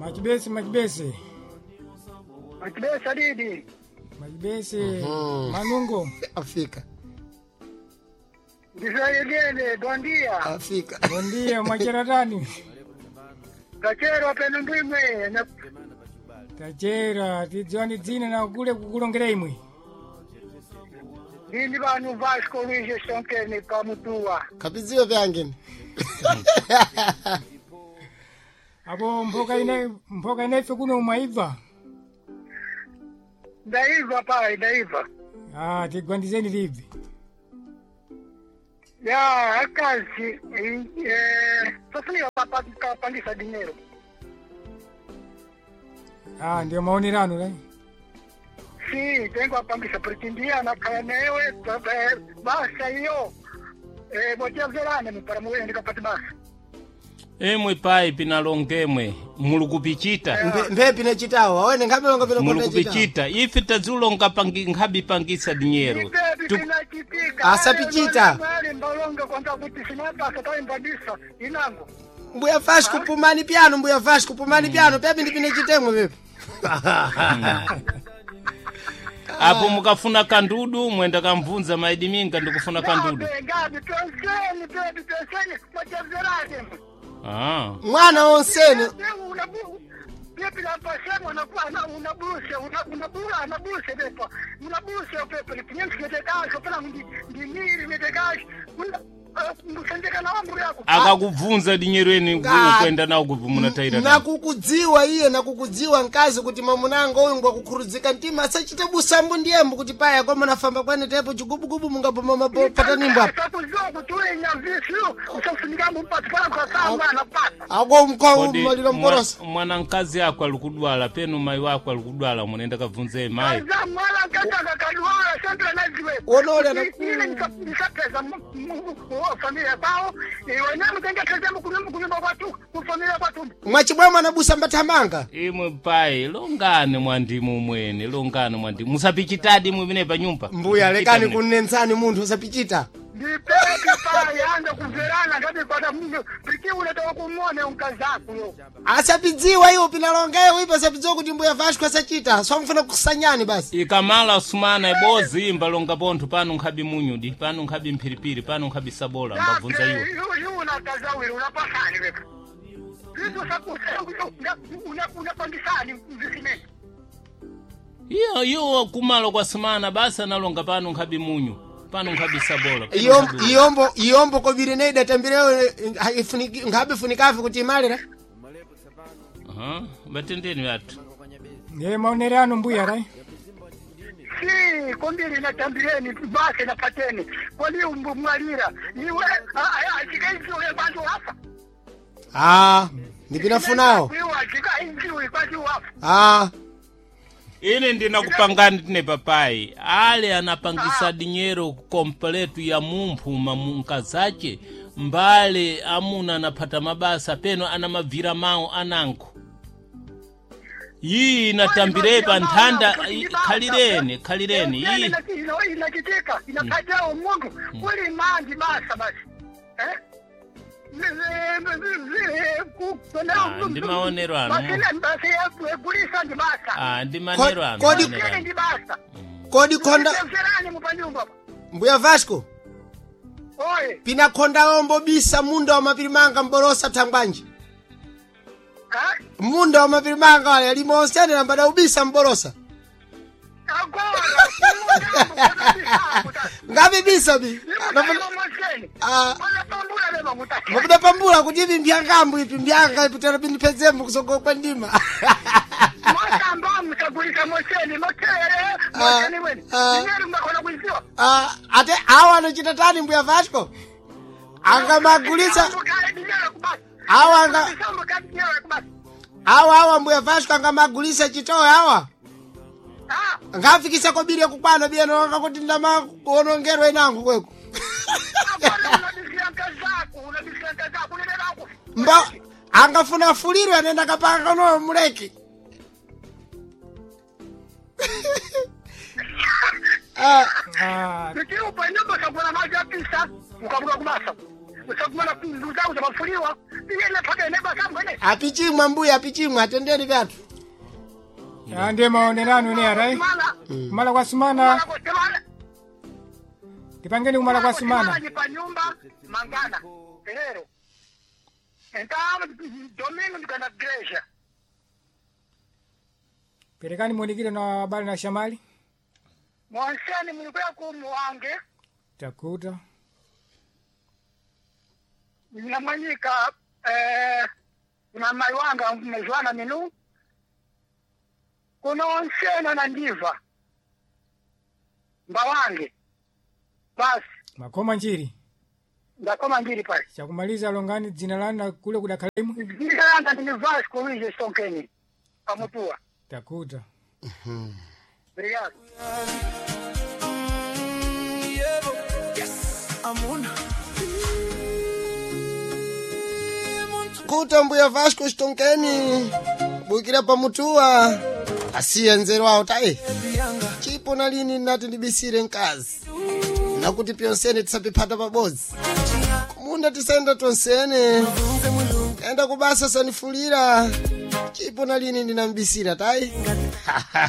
Machibesi machibesi. Machibesi adidi. Machibesi Manungo. Afika. Ndisayegene bondia. Afika. Bondia mwacheratani. Kachero peno ndimwe. Tachera tidziwani dzina na kule kukulongera imwe. Ndindi vanhu Vasco Luiz Sonkeni pamutua. Kapidziwe vyangeni. Apo mphoka inaife kuno mwaibva. Ndaibva pai ndaibva. Ah, tigwandizeni tibve. Ya akazi tofunika kapangisa dinero. Ah, ndio maonerano lai. Si, tengo apangisa porque ndiye anakhala newe basa iyo. Botyabzerane para muwe ndikapati basa. Imwe pai pinalongemwe muli kupichita. Mphepi nechitawo awene nkhabe pino Muli kupichita ife tadzulonga pangi nkhabi pangisa dinyero. Ipepi pinachitika. Asapichita. Mbalonga kwanta kuti sinapasa taimbadisa inango. Mbuya Vasco pumani piano, mbuya Vasco pumani piano, pepi ndi pine chitemwe pepi. Apo mukafuna kandudu mwenda kamvunza maidiminga ndikufuna kandudu. Ngabe ngabe tonseni pepi tonseni botyabzerane. Ah. Mwana onsene Pepe lapasemo unabuse unabula anabuse pepa unabuse pepe lipinyemsietekaso pela ndimiri netekaso musendeka na amri yako Akakubvunza dinyero eni kwenda nawo kubva munataira. Nakukudziwa iye nakukudziwa mkazi kuti mamunango uyu ngwakukhurudzika mtima asachite busambu ndiyembo kuti paya kwa munafamba kwene tepo chigubugubu mungaboma mapatanimbo apa. Sakuziwa kuti ule nyamvisi usafunika mupati pala kusasangwa anapata Ako mkwa Kodi maliro mporosa. mwana mkazi ako alikudwala penu mai wako alikudwala munenda kabvunze mai. Kaza mwala nkataka kadwala sandra naziwe Wonole na- ile nisapeza familia kwao wenyewe mtengeteza kunyumba kwatu kufamilia kwatu Mwachibwemwe anabusa mbathamanga. Imwe pai longani mwandimu mwene longani mwandimu musapichitadi mwimene pa nyumba. Mbuya lekani kunensani munthu usapichita. Ndipepi paya kumverana ngati mndu piki unatoka kumone unkazakuyo Asapidziwa iwo pinalongeyo ipo asapidziwa kuti mbuya Vasco asachita. Swamfuna kusanyani basi. Ikamala sumana ibozi imba longa pontho pano nkhabi munyudi pano nkhabi mphiripiri pano nkhabi sabola mbabvunza iwo. Unakazawiri unapasani wepa vitu unapangisani visimeni Iyo iyo kumalo kwa sumana basi analonga pano nkhabi munyu pano nkhabi sabola. pano nkhabi- Iyombo iyombo kobiri neida tambireyo nkhabe funikafi kuti imalira. Aha, batendeni vathu. Ndiye maonerano mbuya lai. Si kombiri natambireni basi napateni koli mwalira iwe achikaiziwe kwanti wafa Ah, ndipinafunawo. iwe achikaiziwe kwanti wafa Ah, Ine ndinakupangani tine papai ale anapangisa dinyero kompletu ya mumphu mamunkazace mbale amuna anaphata mabasa peno anamabvira mawo ananko iyi inatambirepa nthanda khalireni khalireni iyi inachitika inapatao mundu kuli manji basa basi Ah, ndi maonero anu. basi egulisa ndi basa ah, ndi manero anu Kodi- manero anu. ndi basa kodi khonda mserani mupanyumba mbuya Vasco oye pina khonda ombo bisa munda wa mapirimanga mborosa thangwanji. ha? Munda wa mapirimanga wale alimo onsene lambada ubisa mborosa. Agora Ngapi bisa bi? Ah. Mabuda pambula kuti ipi mbyangambu ipi mbyanga ipi tera pindipedzembo kusogola kwa ndima. Ah, ate awa anochita tani mbuya Vasco? Angamagulitsa awa anga awa awa mbuya Vasco angamagulitsa chitowe awa. Ngafikisa kobiri yakukwana biya nonga kuti ndamaonongerwa inango kweko. Mba angafuna afulirwe anenda kapanga no muleki. Ah, Ah, ukagula maji apisa ukabuka kubasa usakumana nduzauza mafuliwa iye nepaka nebasa mwene Apichimwa mbuya, apichimwa, atendeni vyathu. Ah, ndiye maonerano ne arai. Kumala Kumala kwa sumana, kumala kwa semana. tipangeni kumala kwa sumana. Ni pa nyumba mangana. Lero. Então, domingo ndikana igreja. Perekani muonikire na habari na shamali. Mwanseni mulikuya ku muwange Takuta. namwanyika kuna mai wanga mezwana minu kuno onsena na ndiva mbawange basi Makoma njiri. ndakoma ndiri pale Chakumaliza longani dzina lanu na kule kudakhalimo. dzina langa ndini Vasco Luiz Sonkeni pamutua. Takuta. Obrigado. Kuta mbuya Vasco Stonkeni bukira pamutuwa asiye nzeru awo tayi chipo na lini nati ndibisire mkazi nakuti pyonsene tisapiphata pabodzi kumunda tisayenda tonsene kaenda kubasa sanifulira chipo na lini ndinambisira tayi.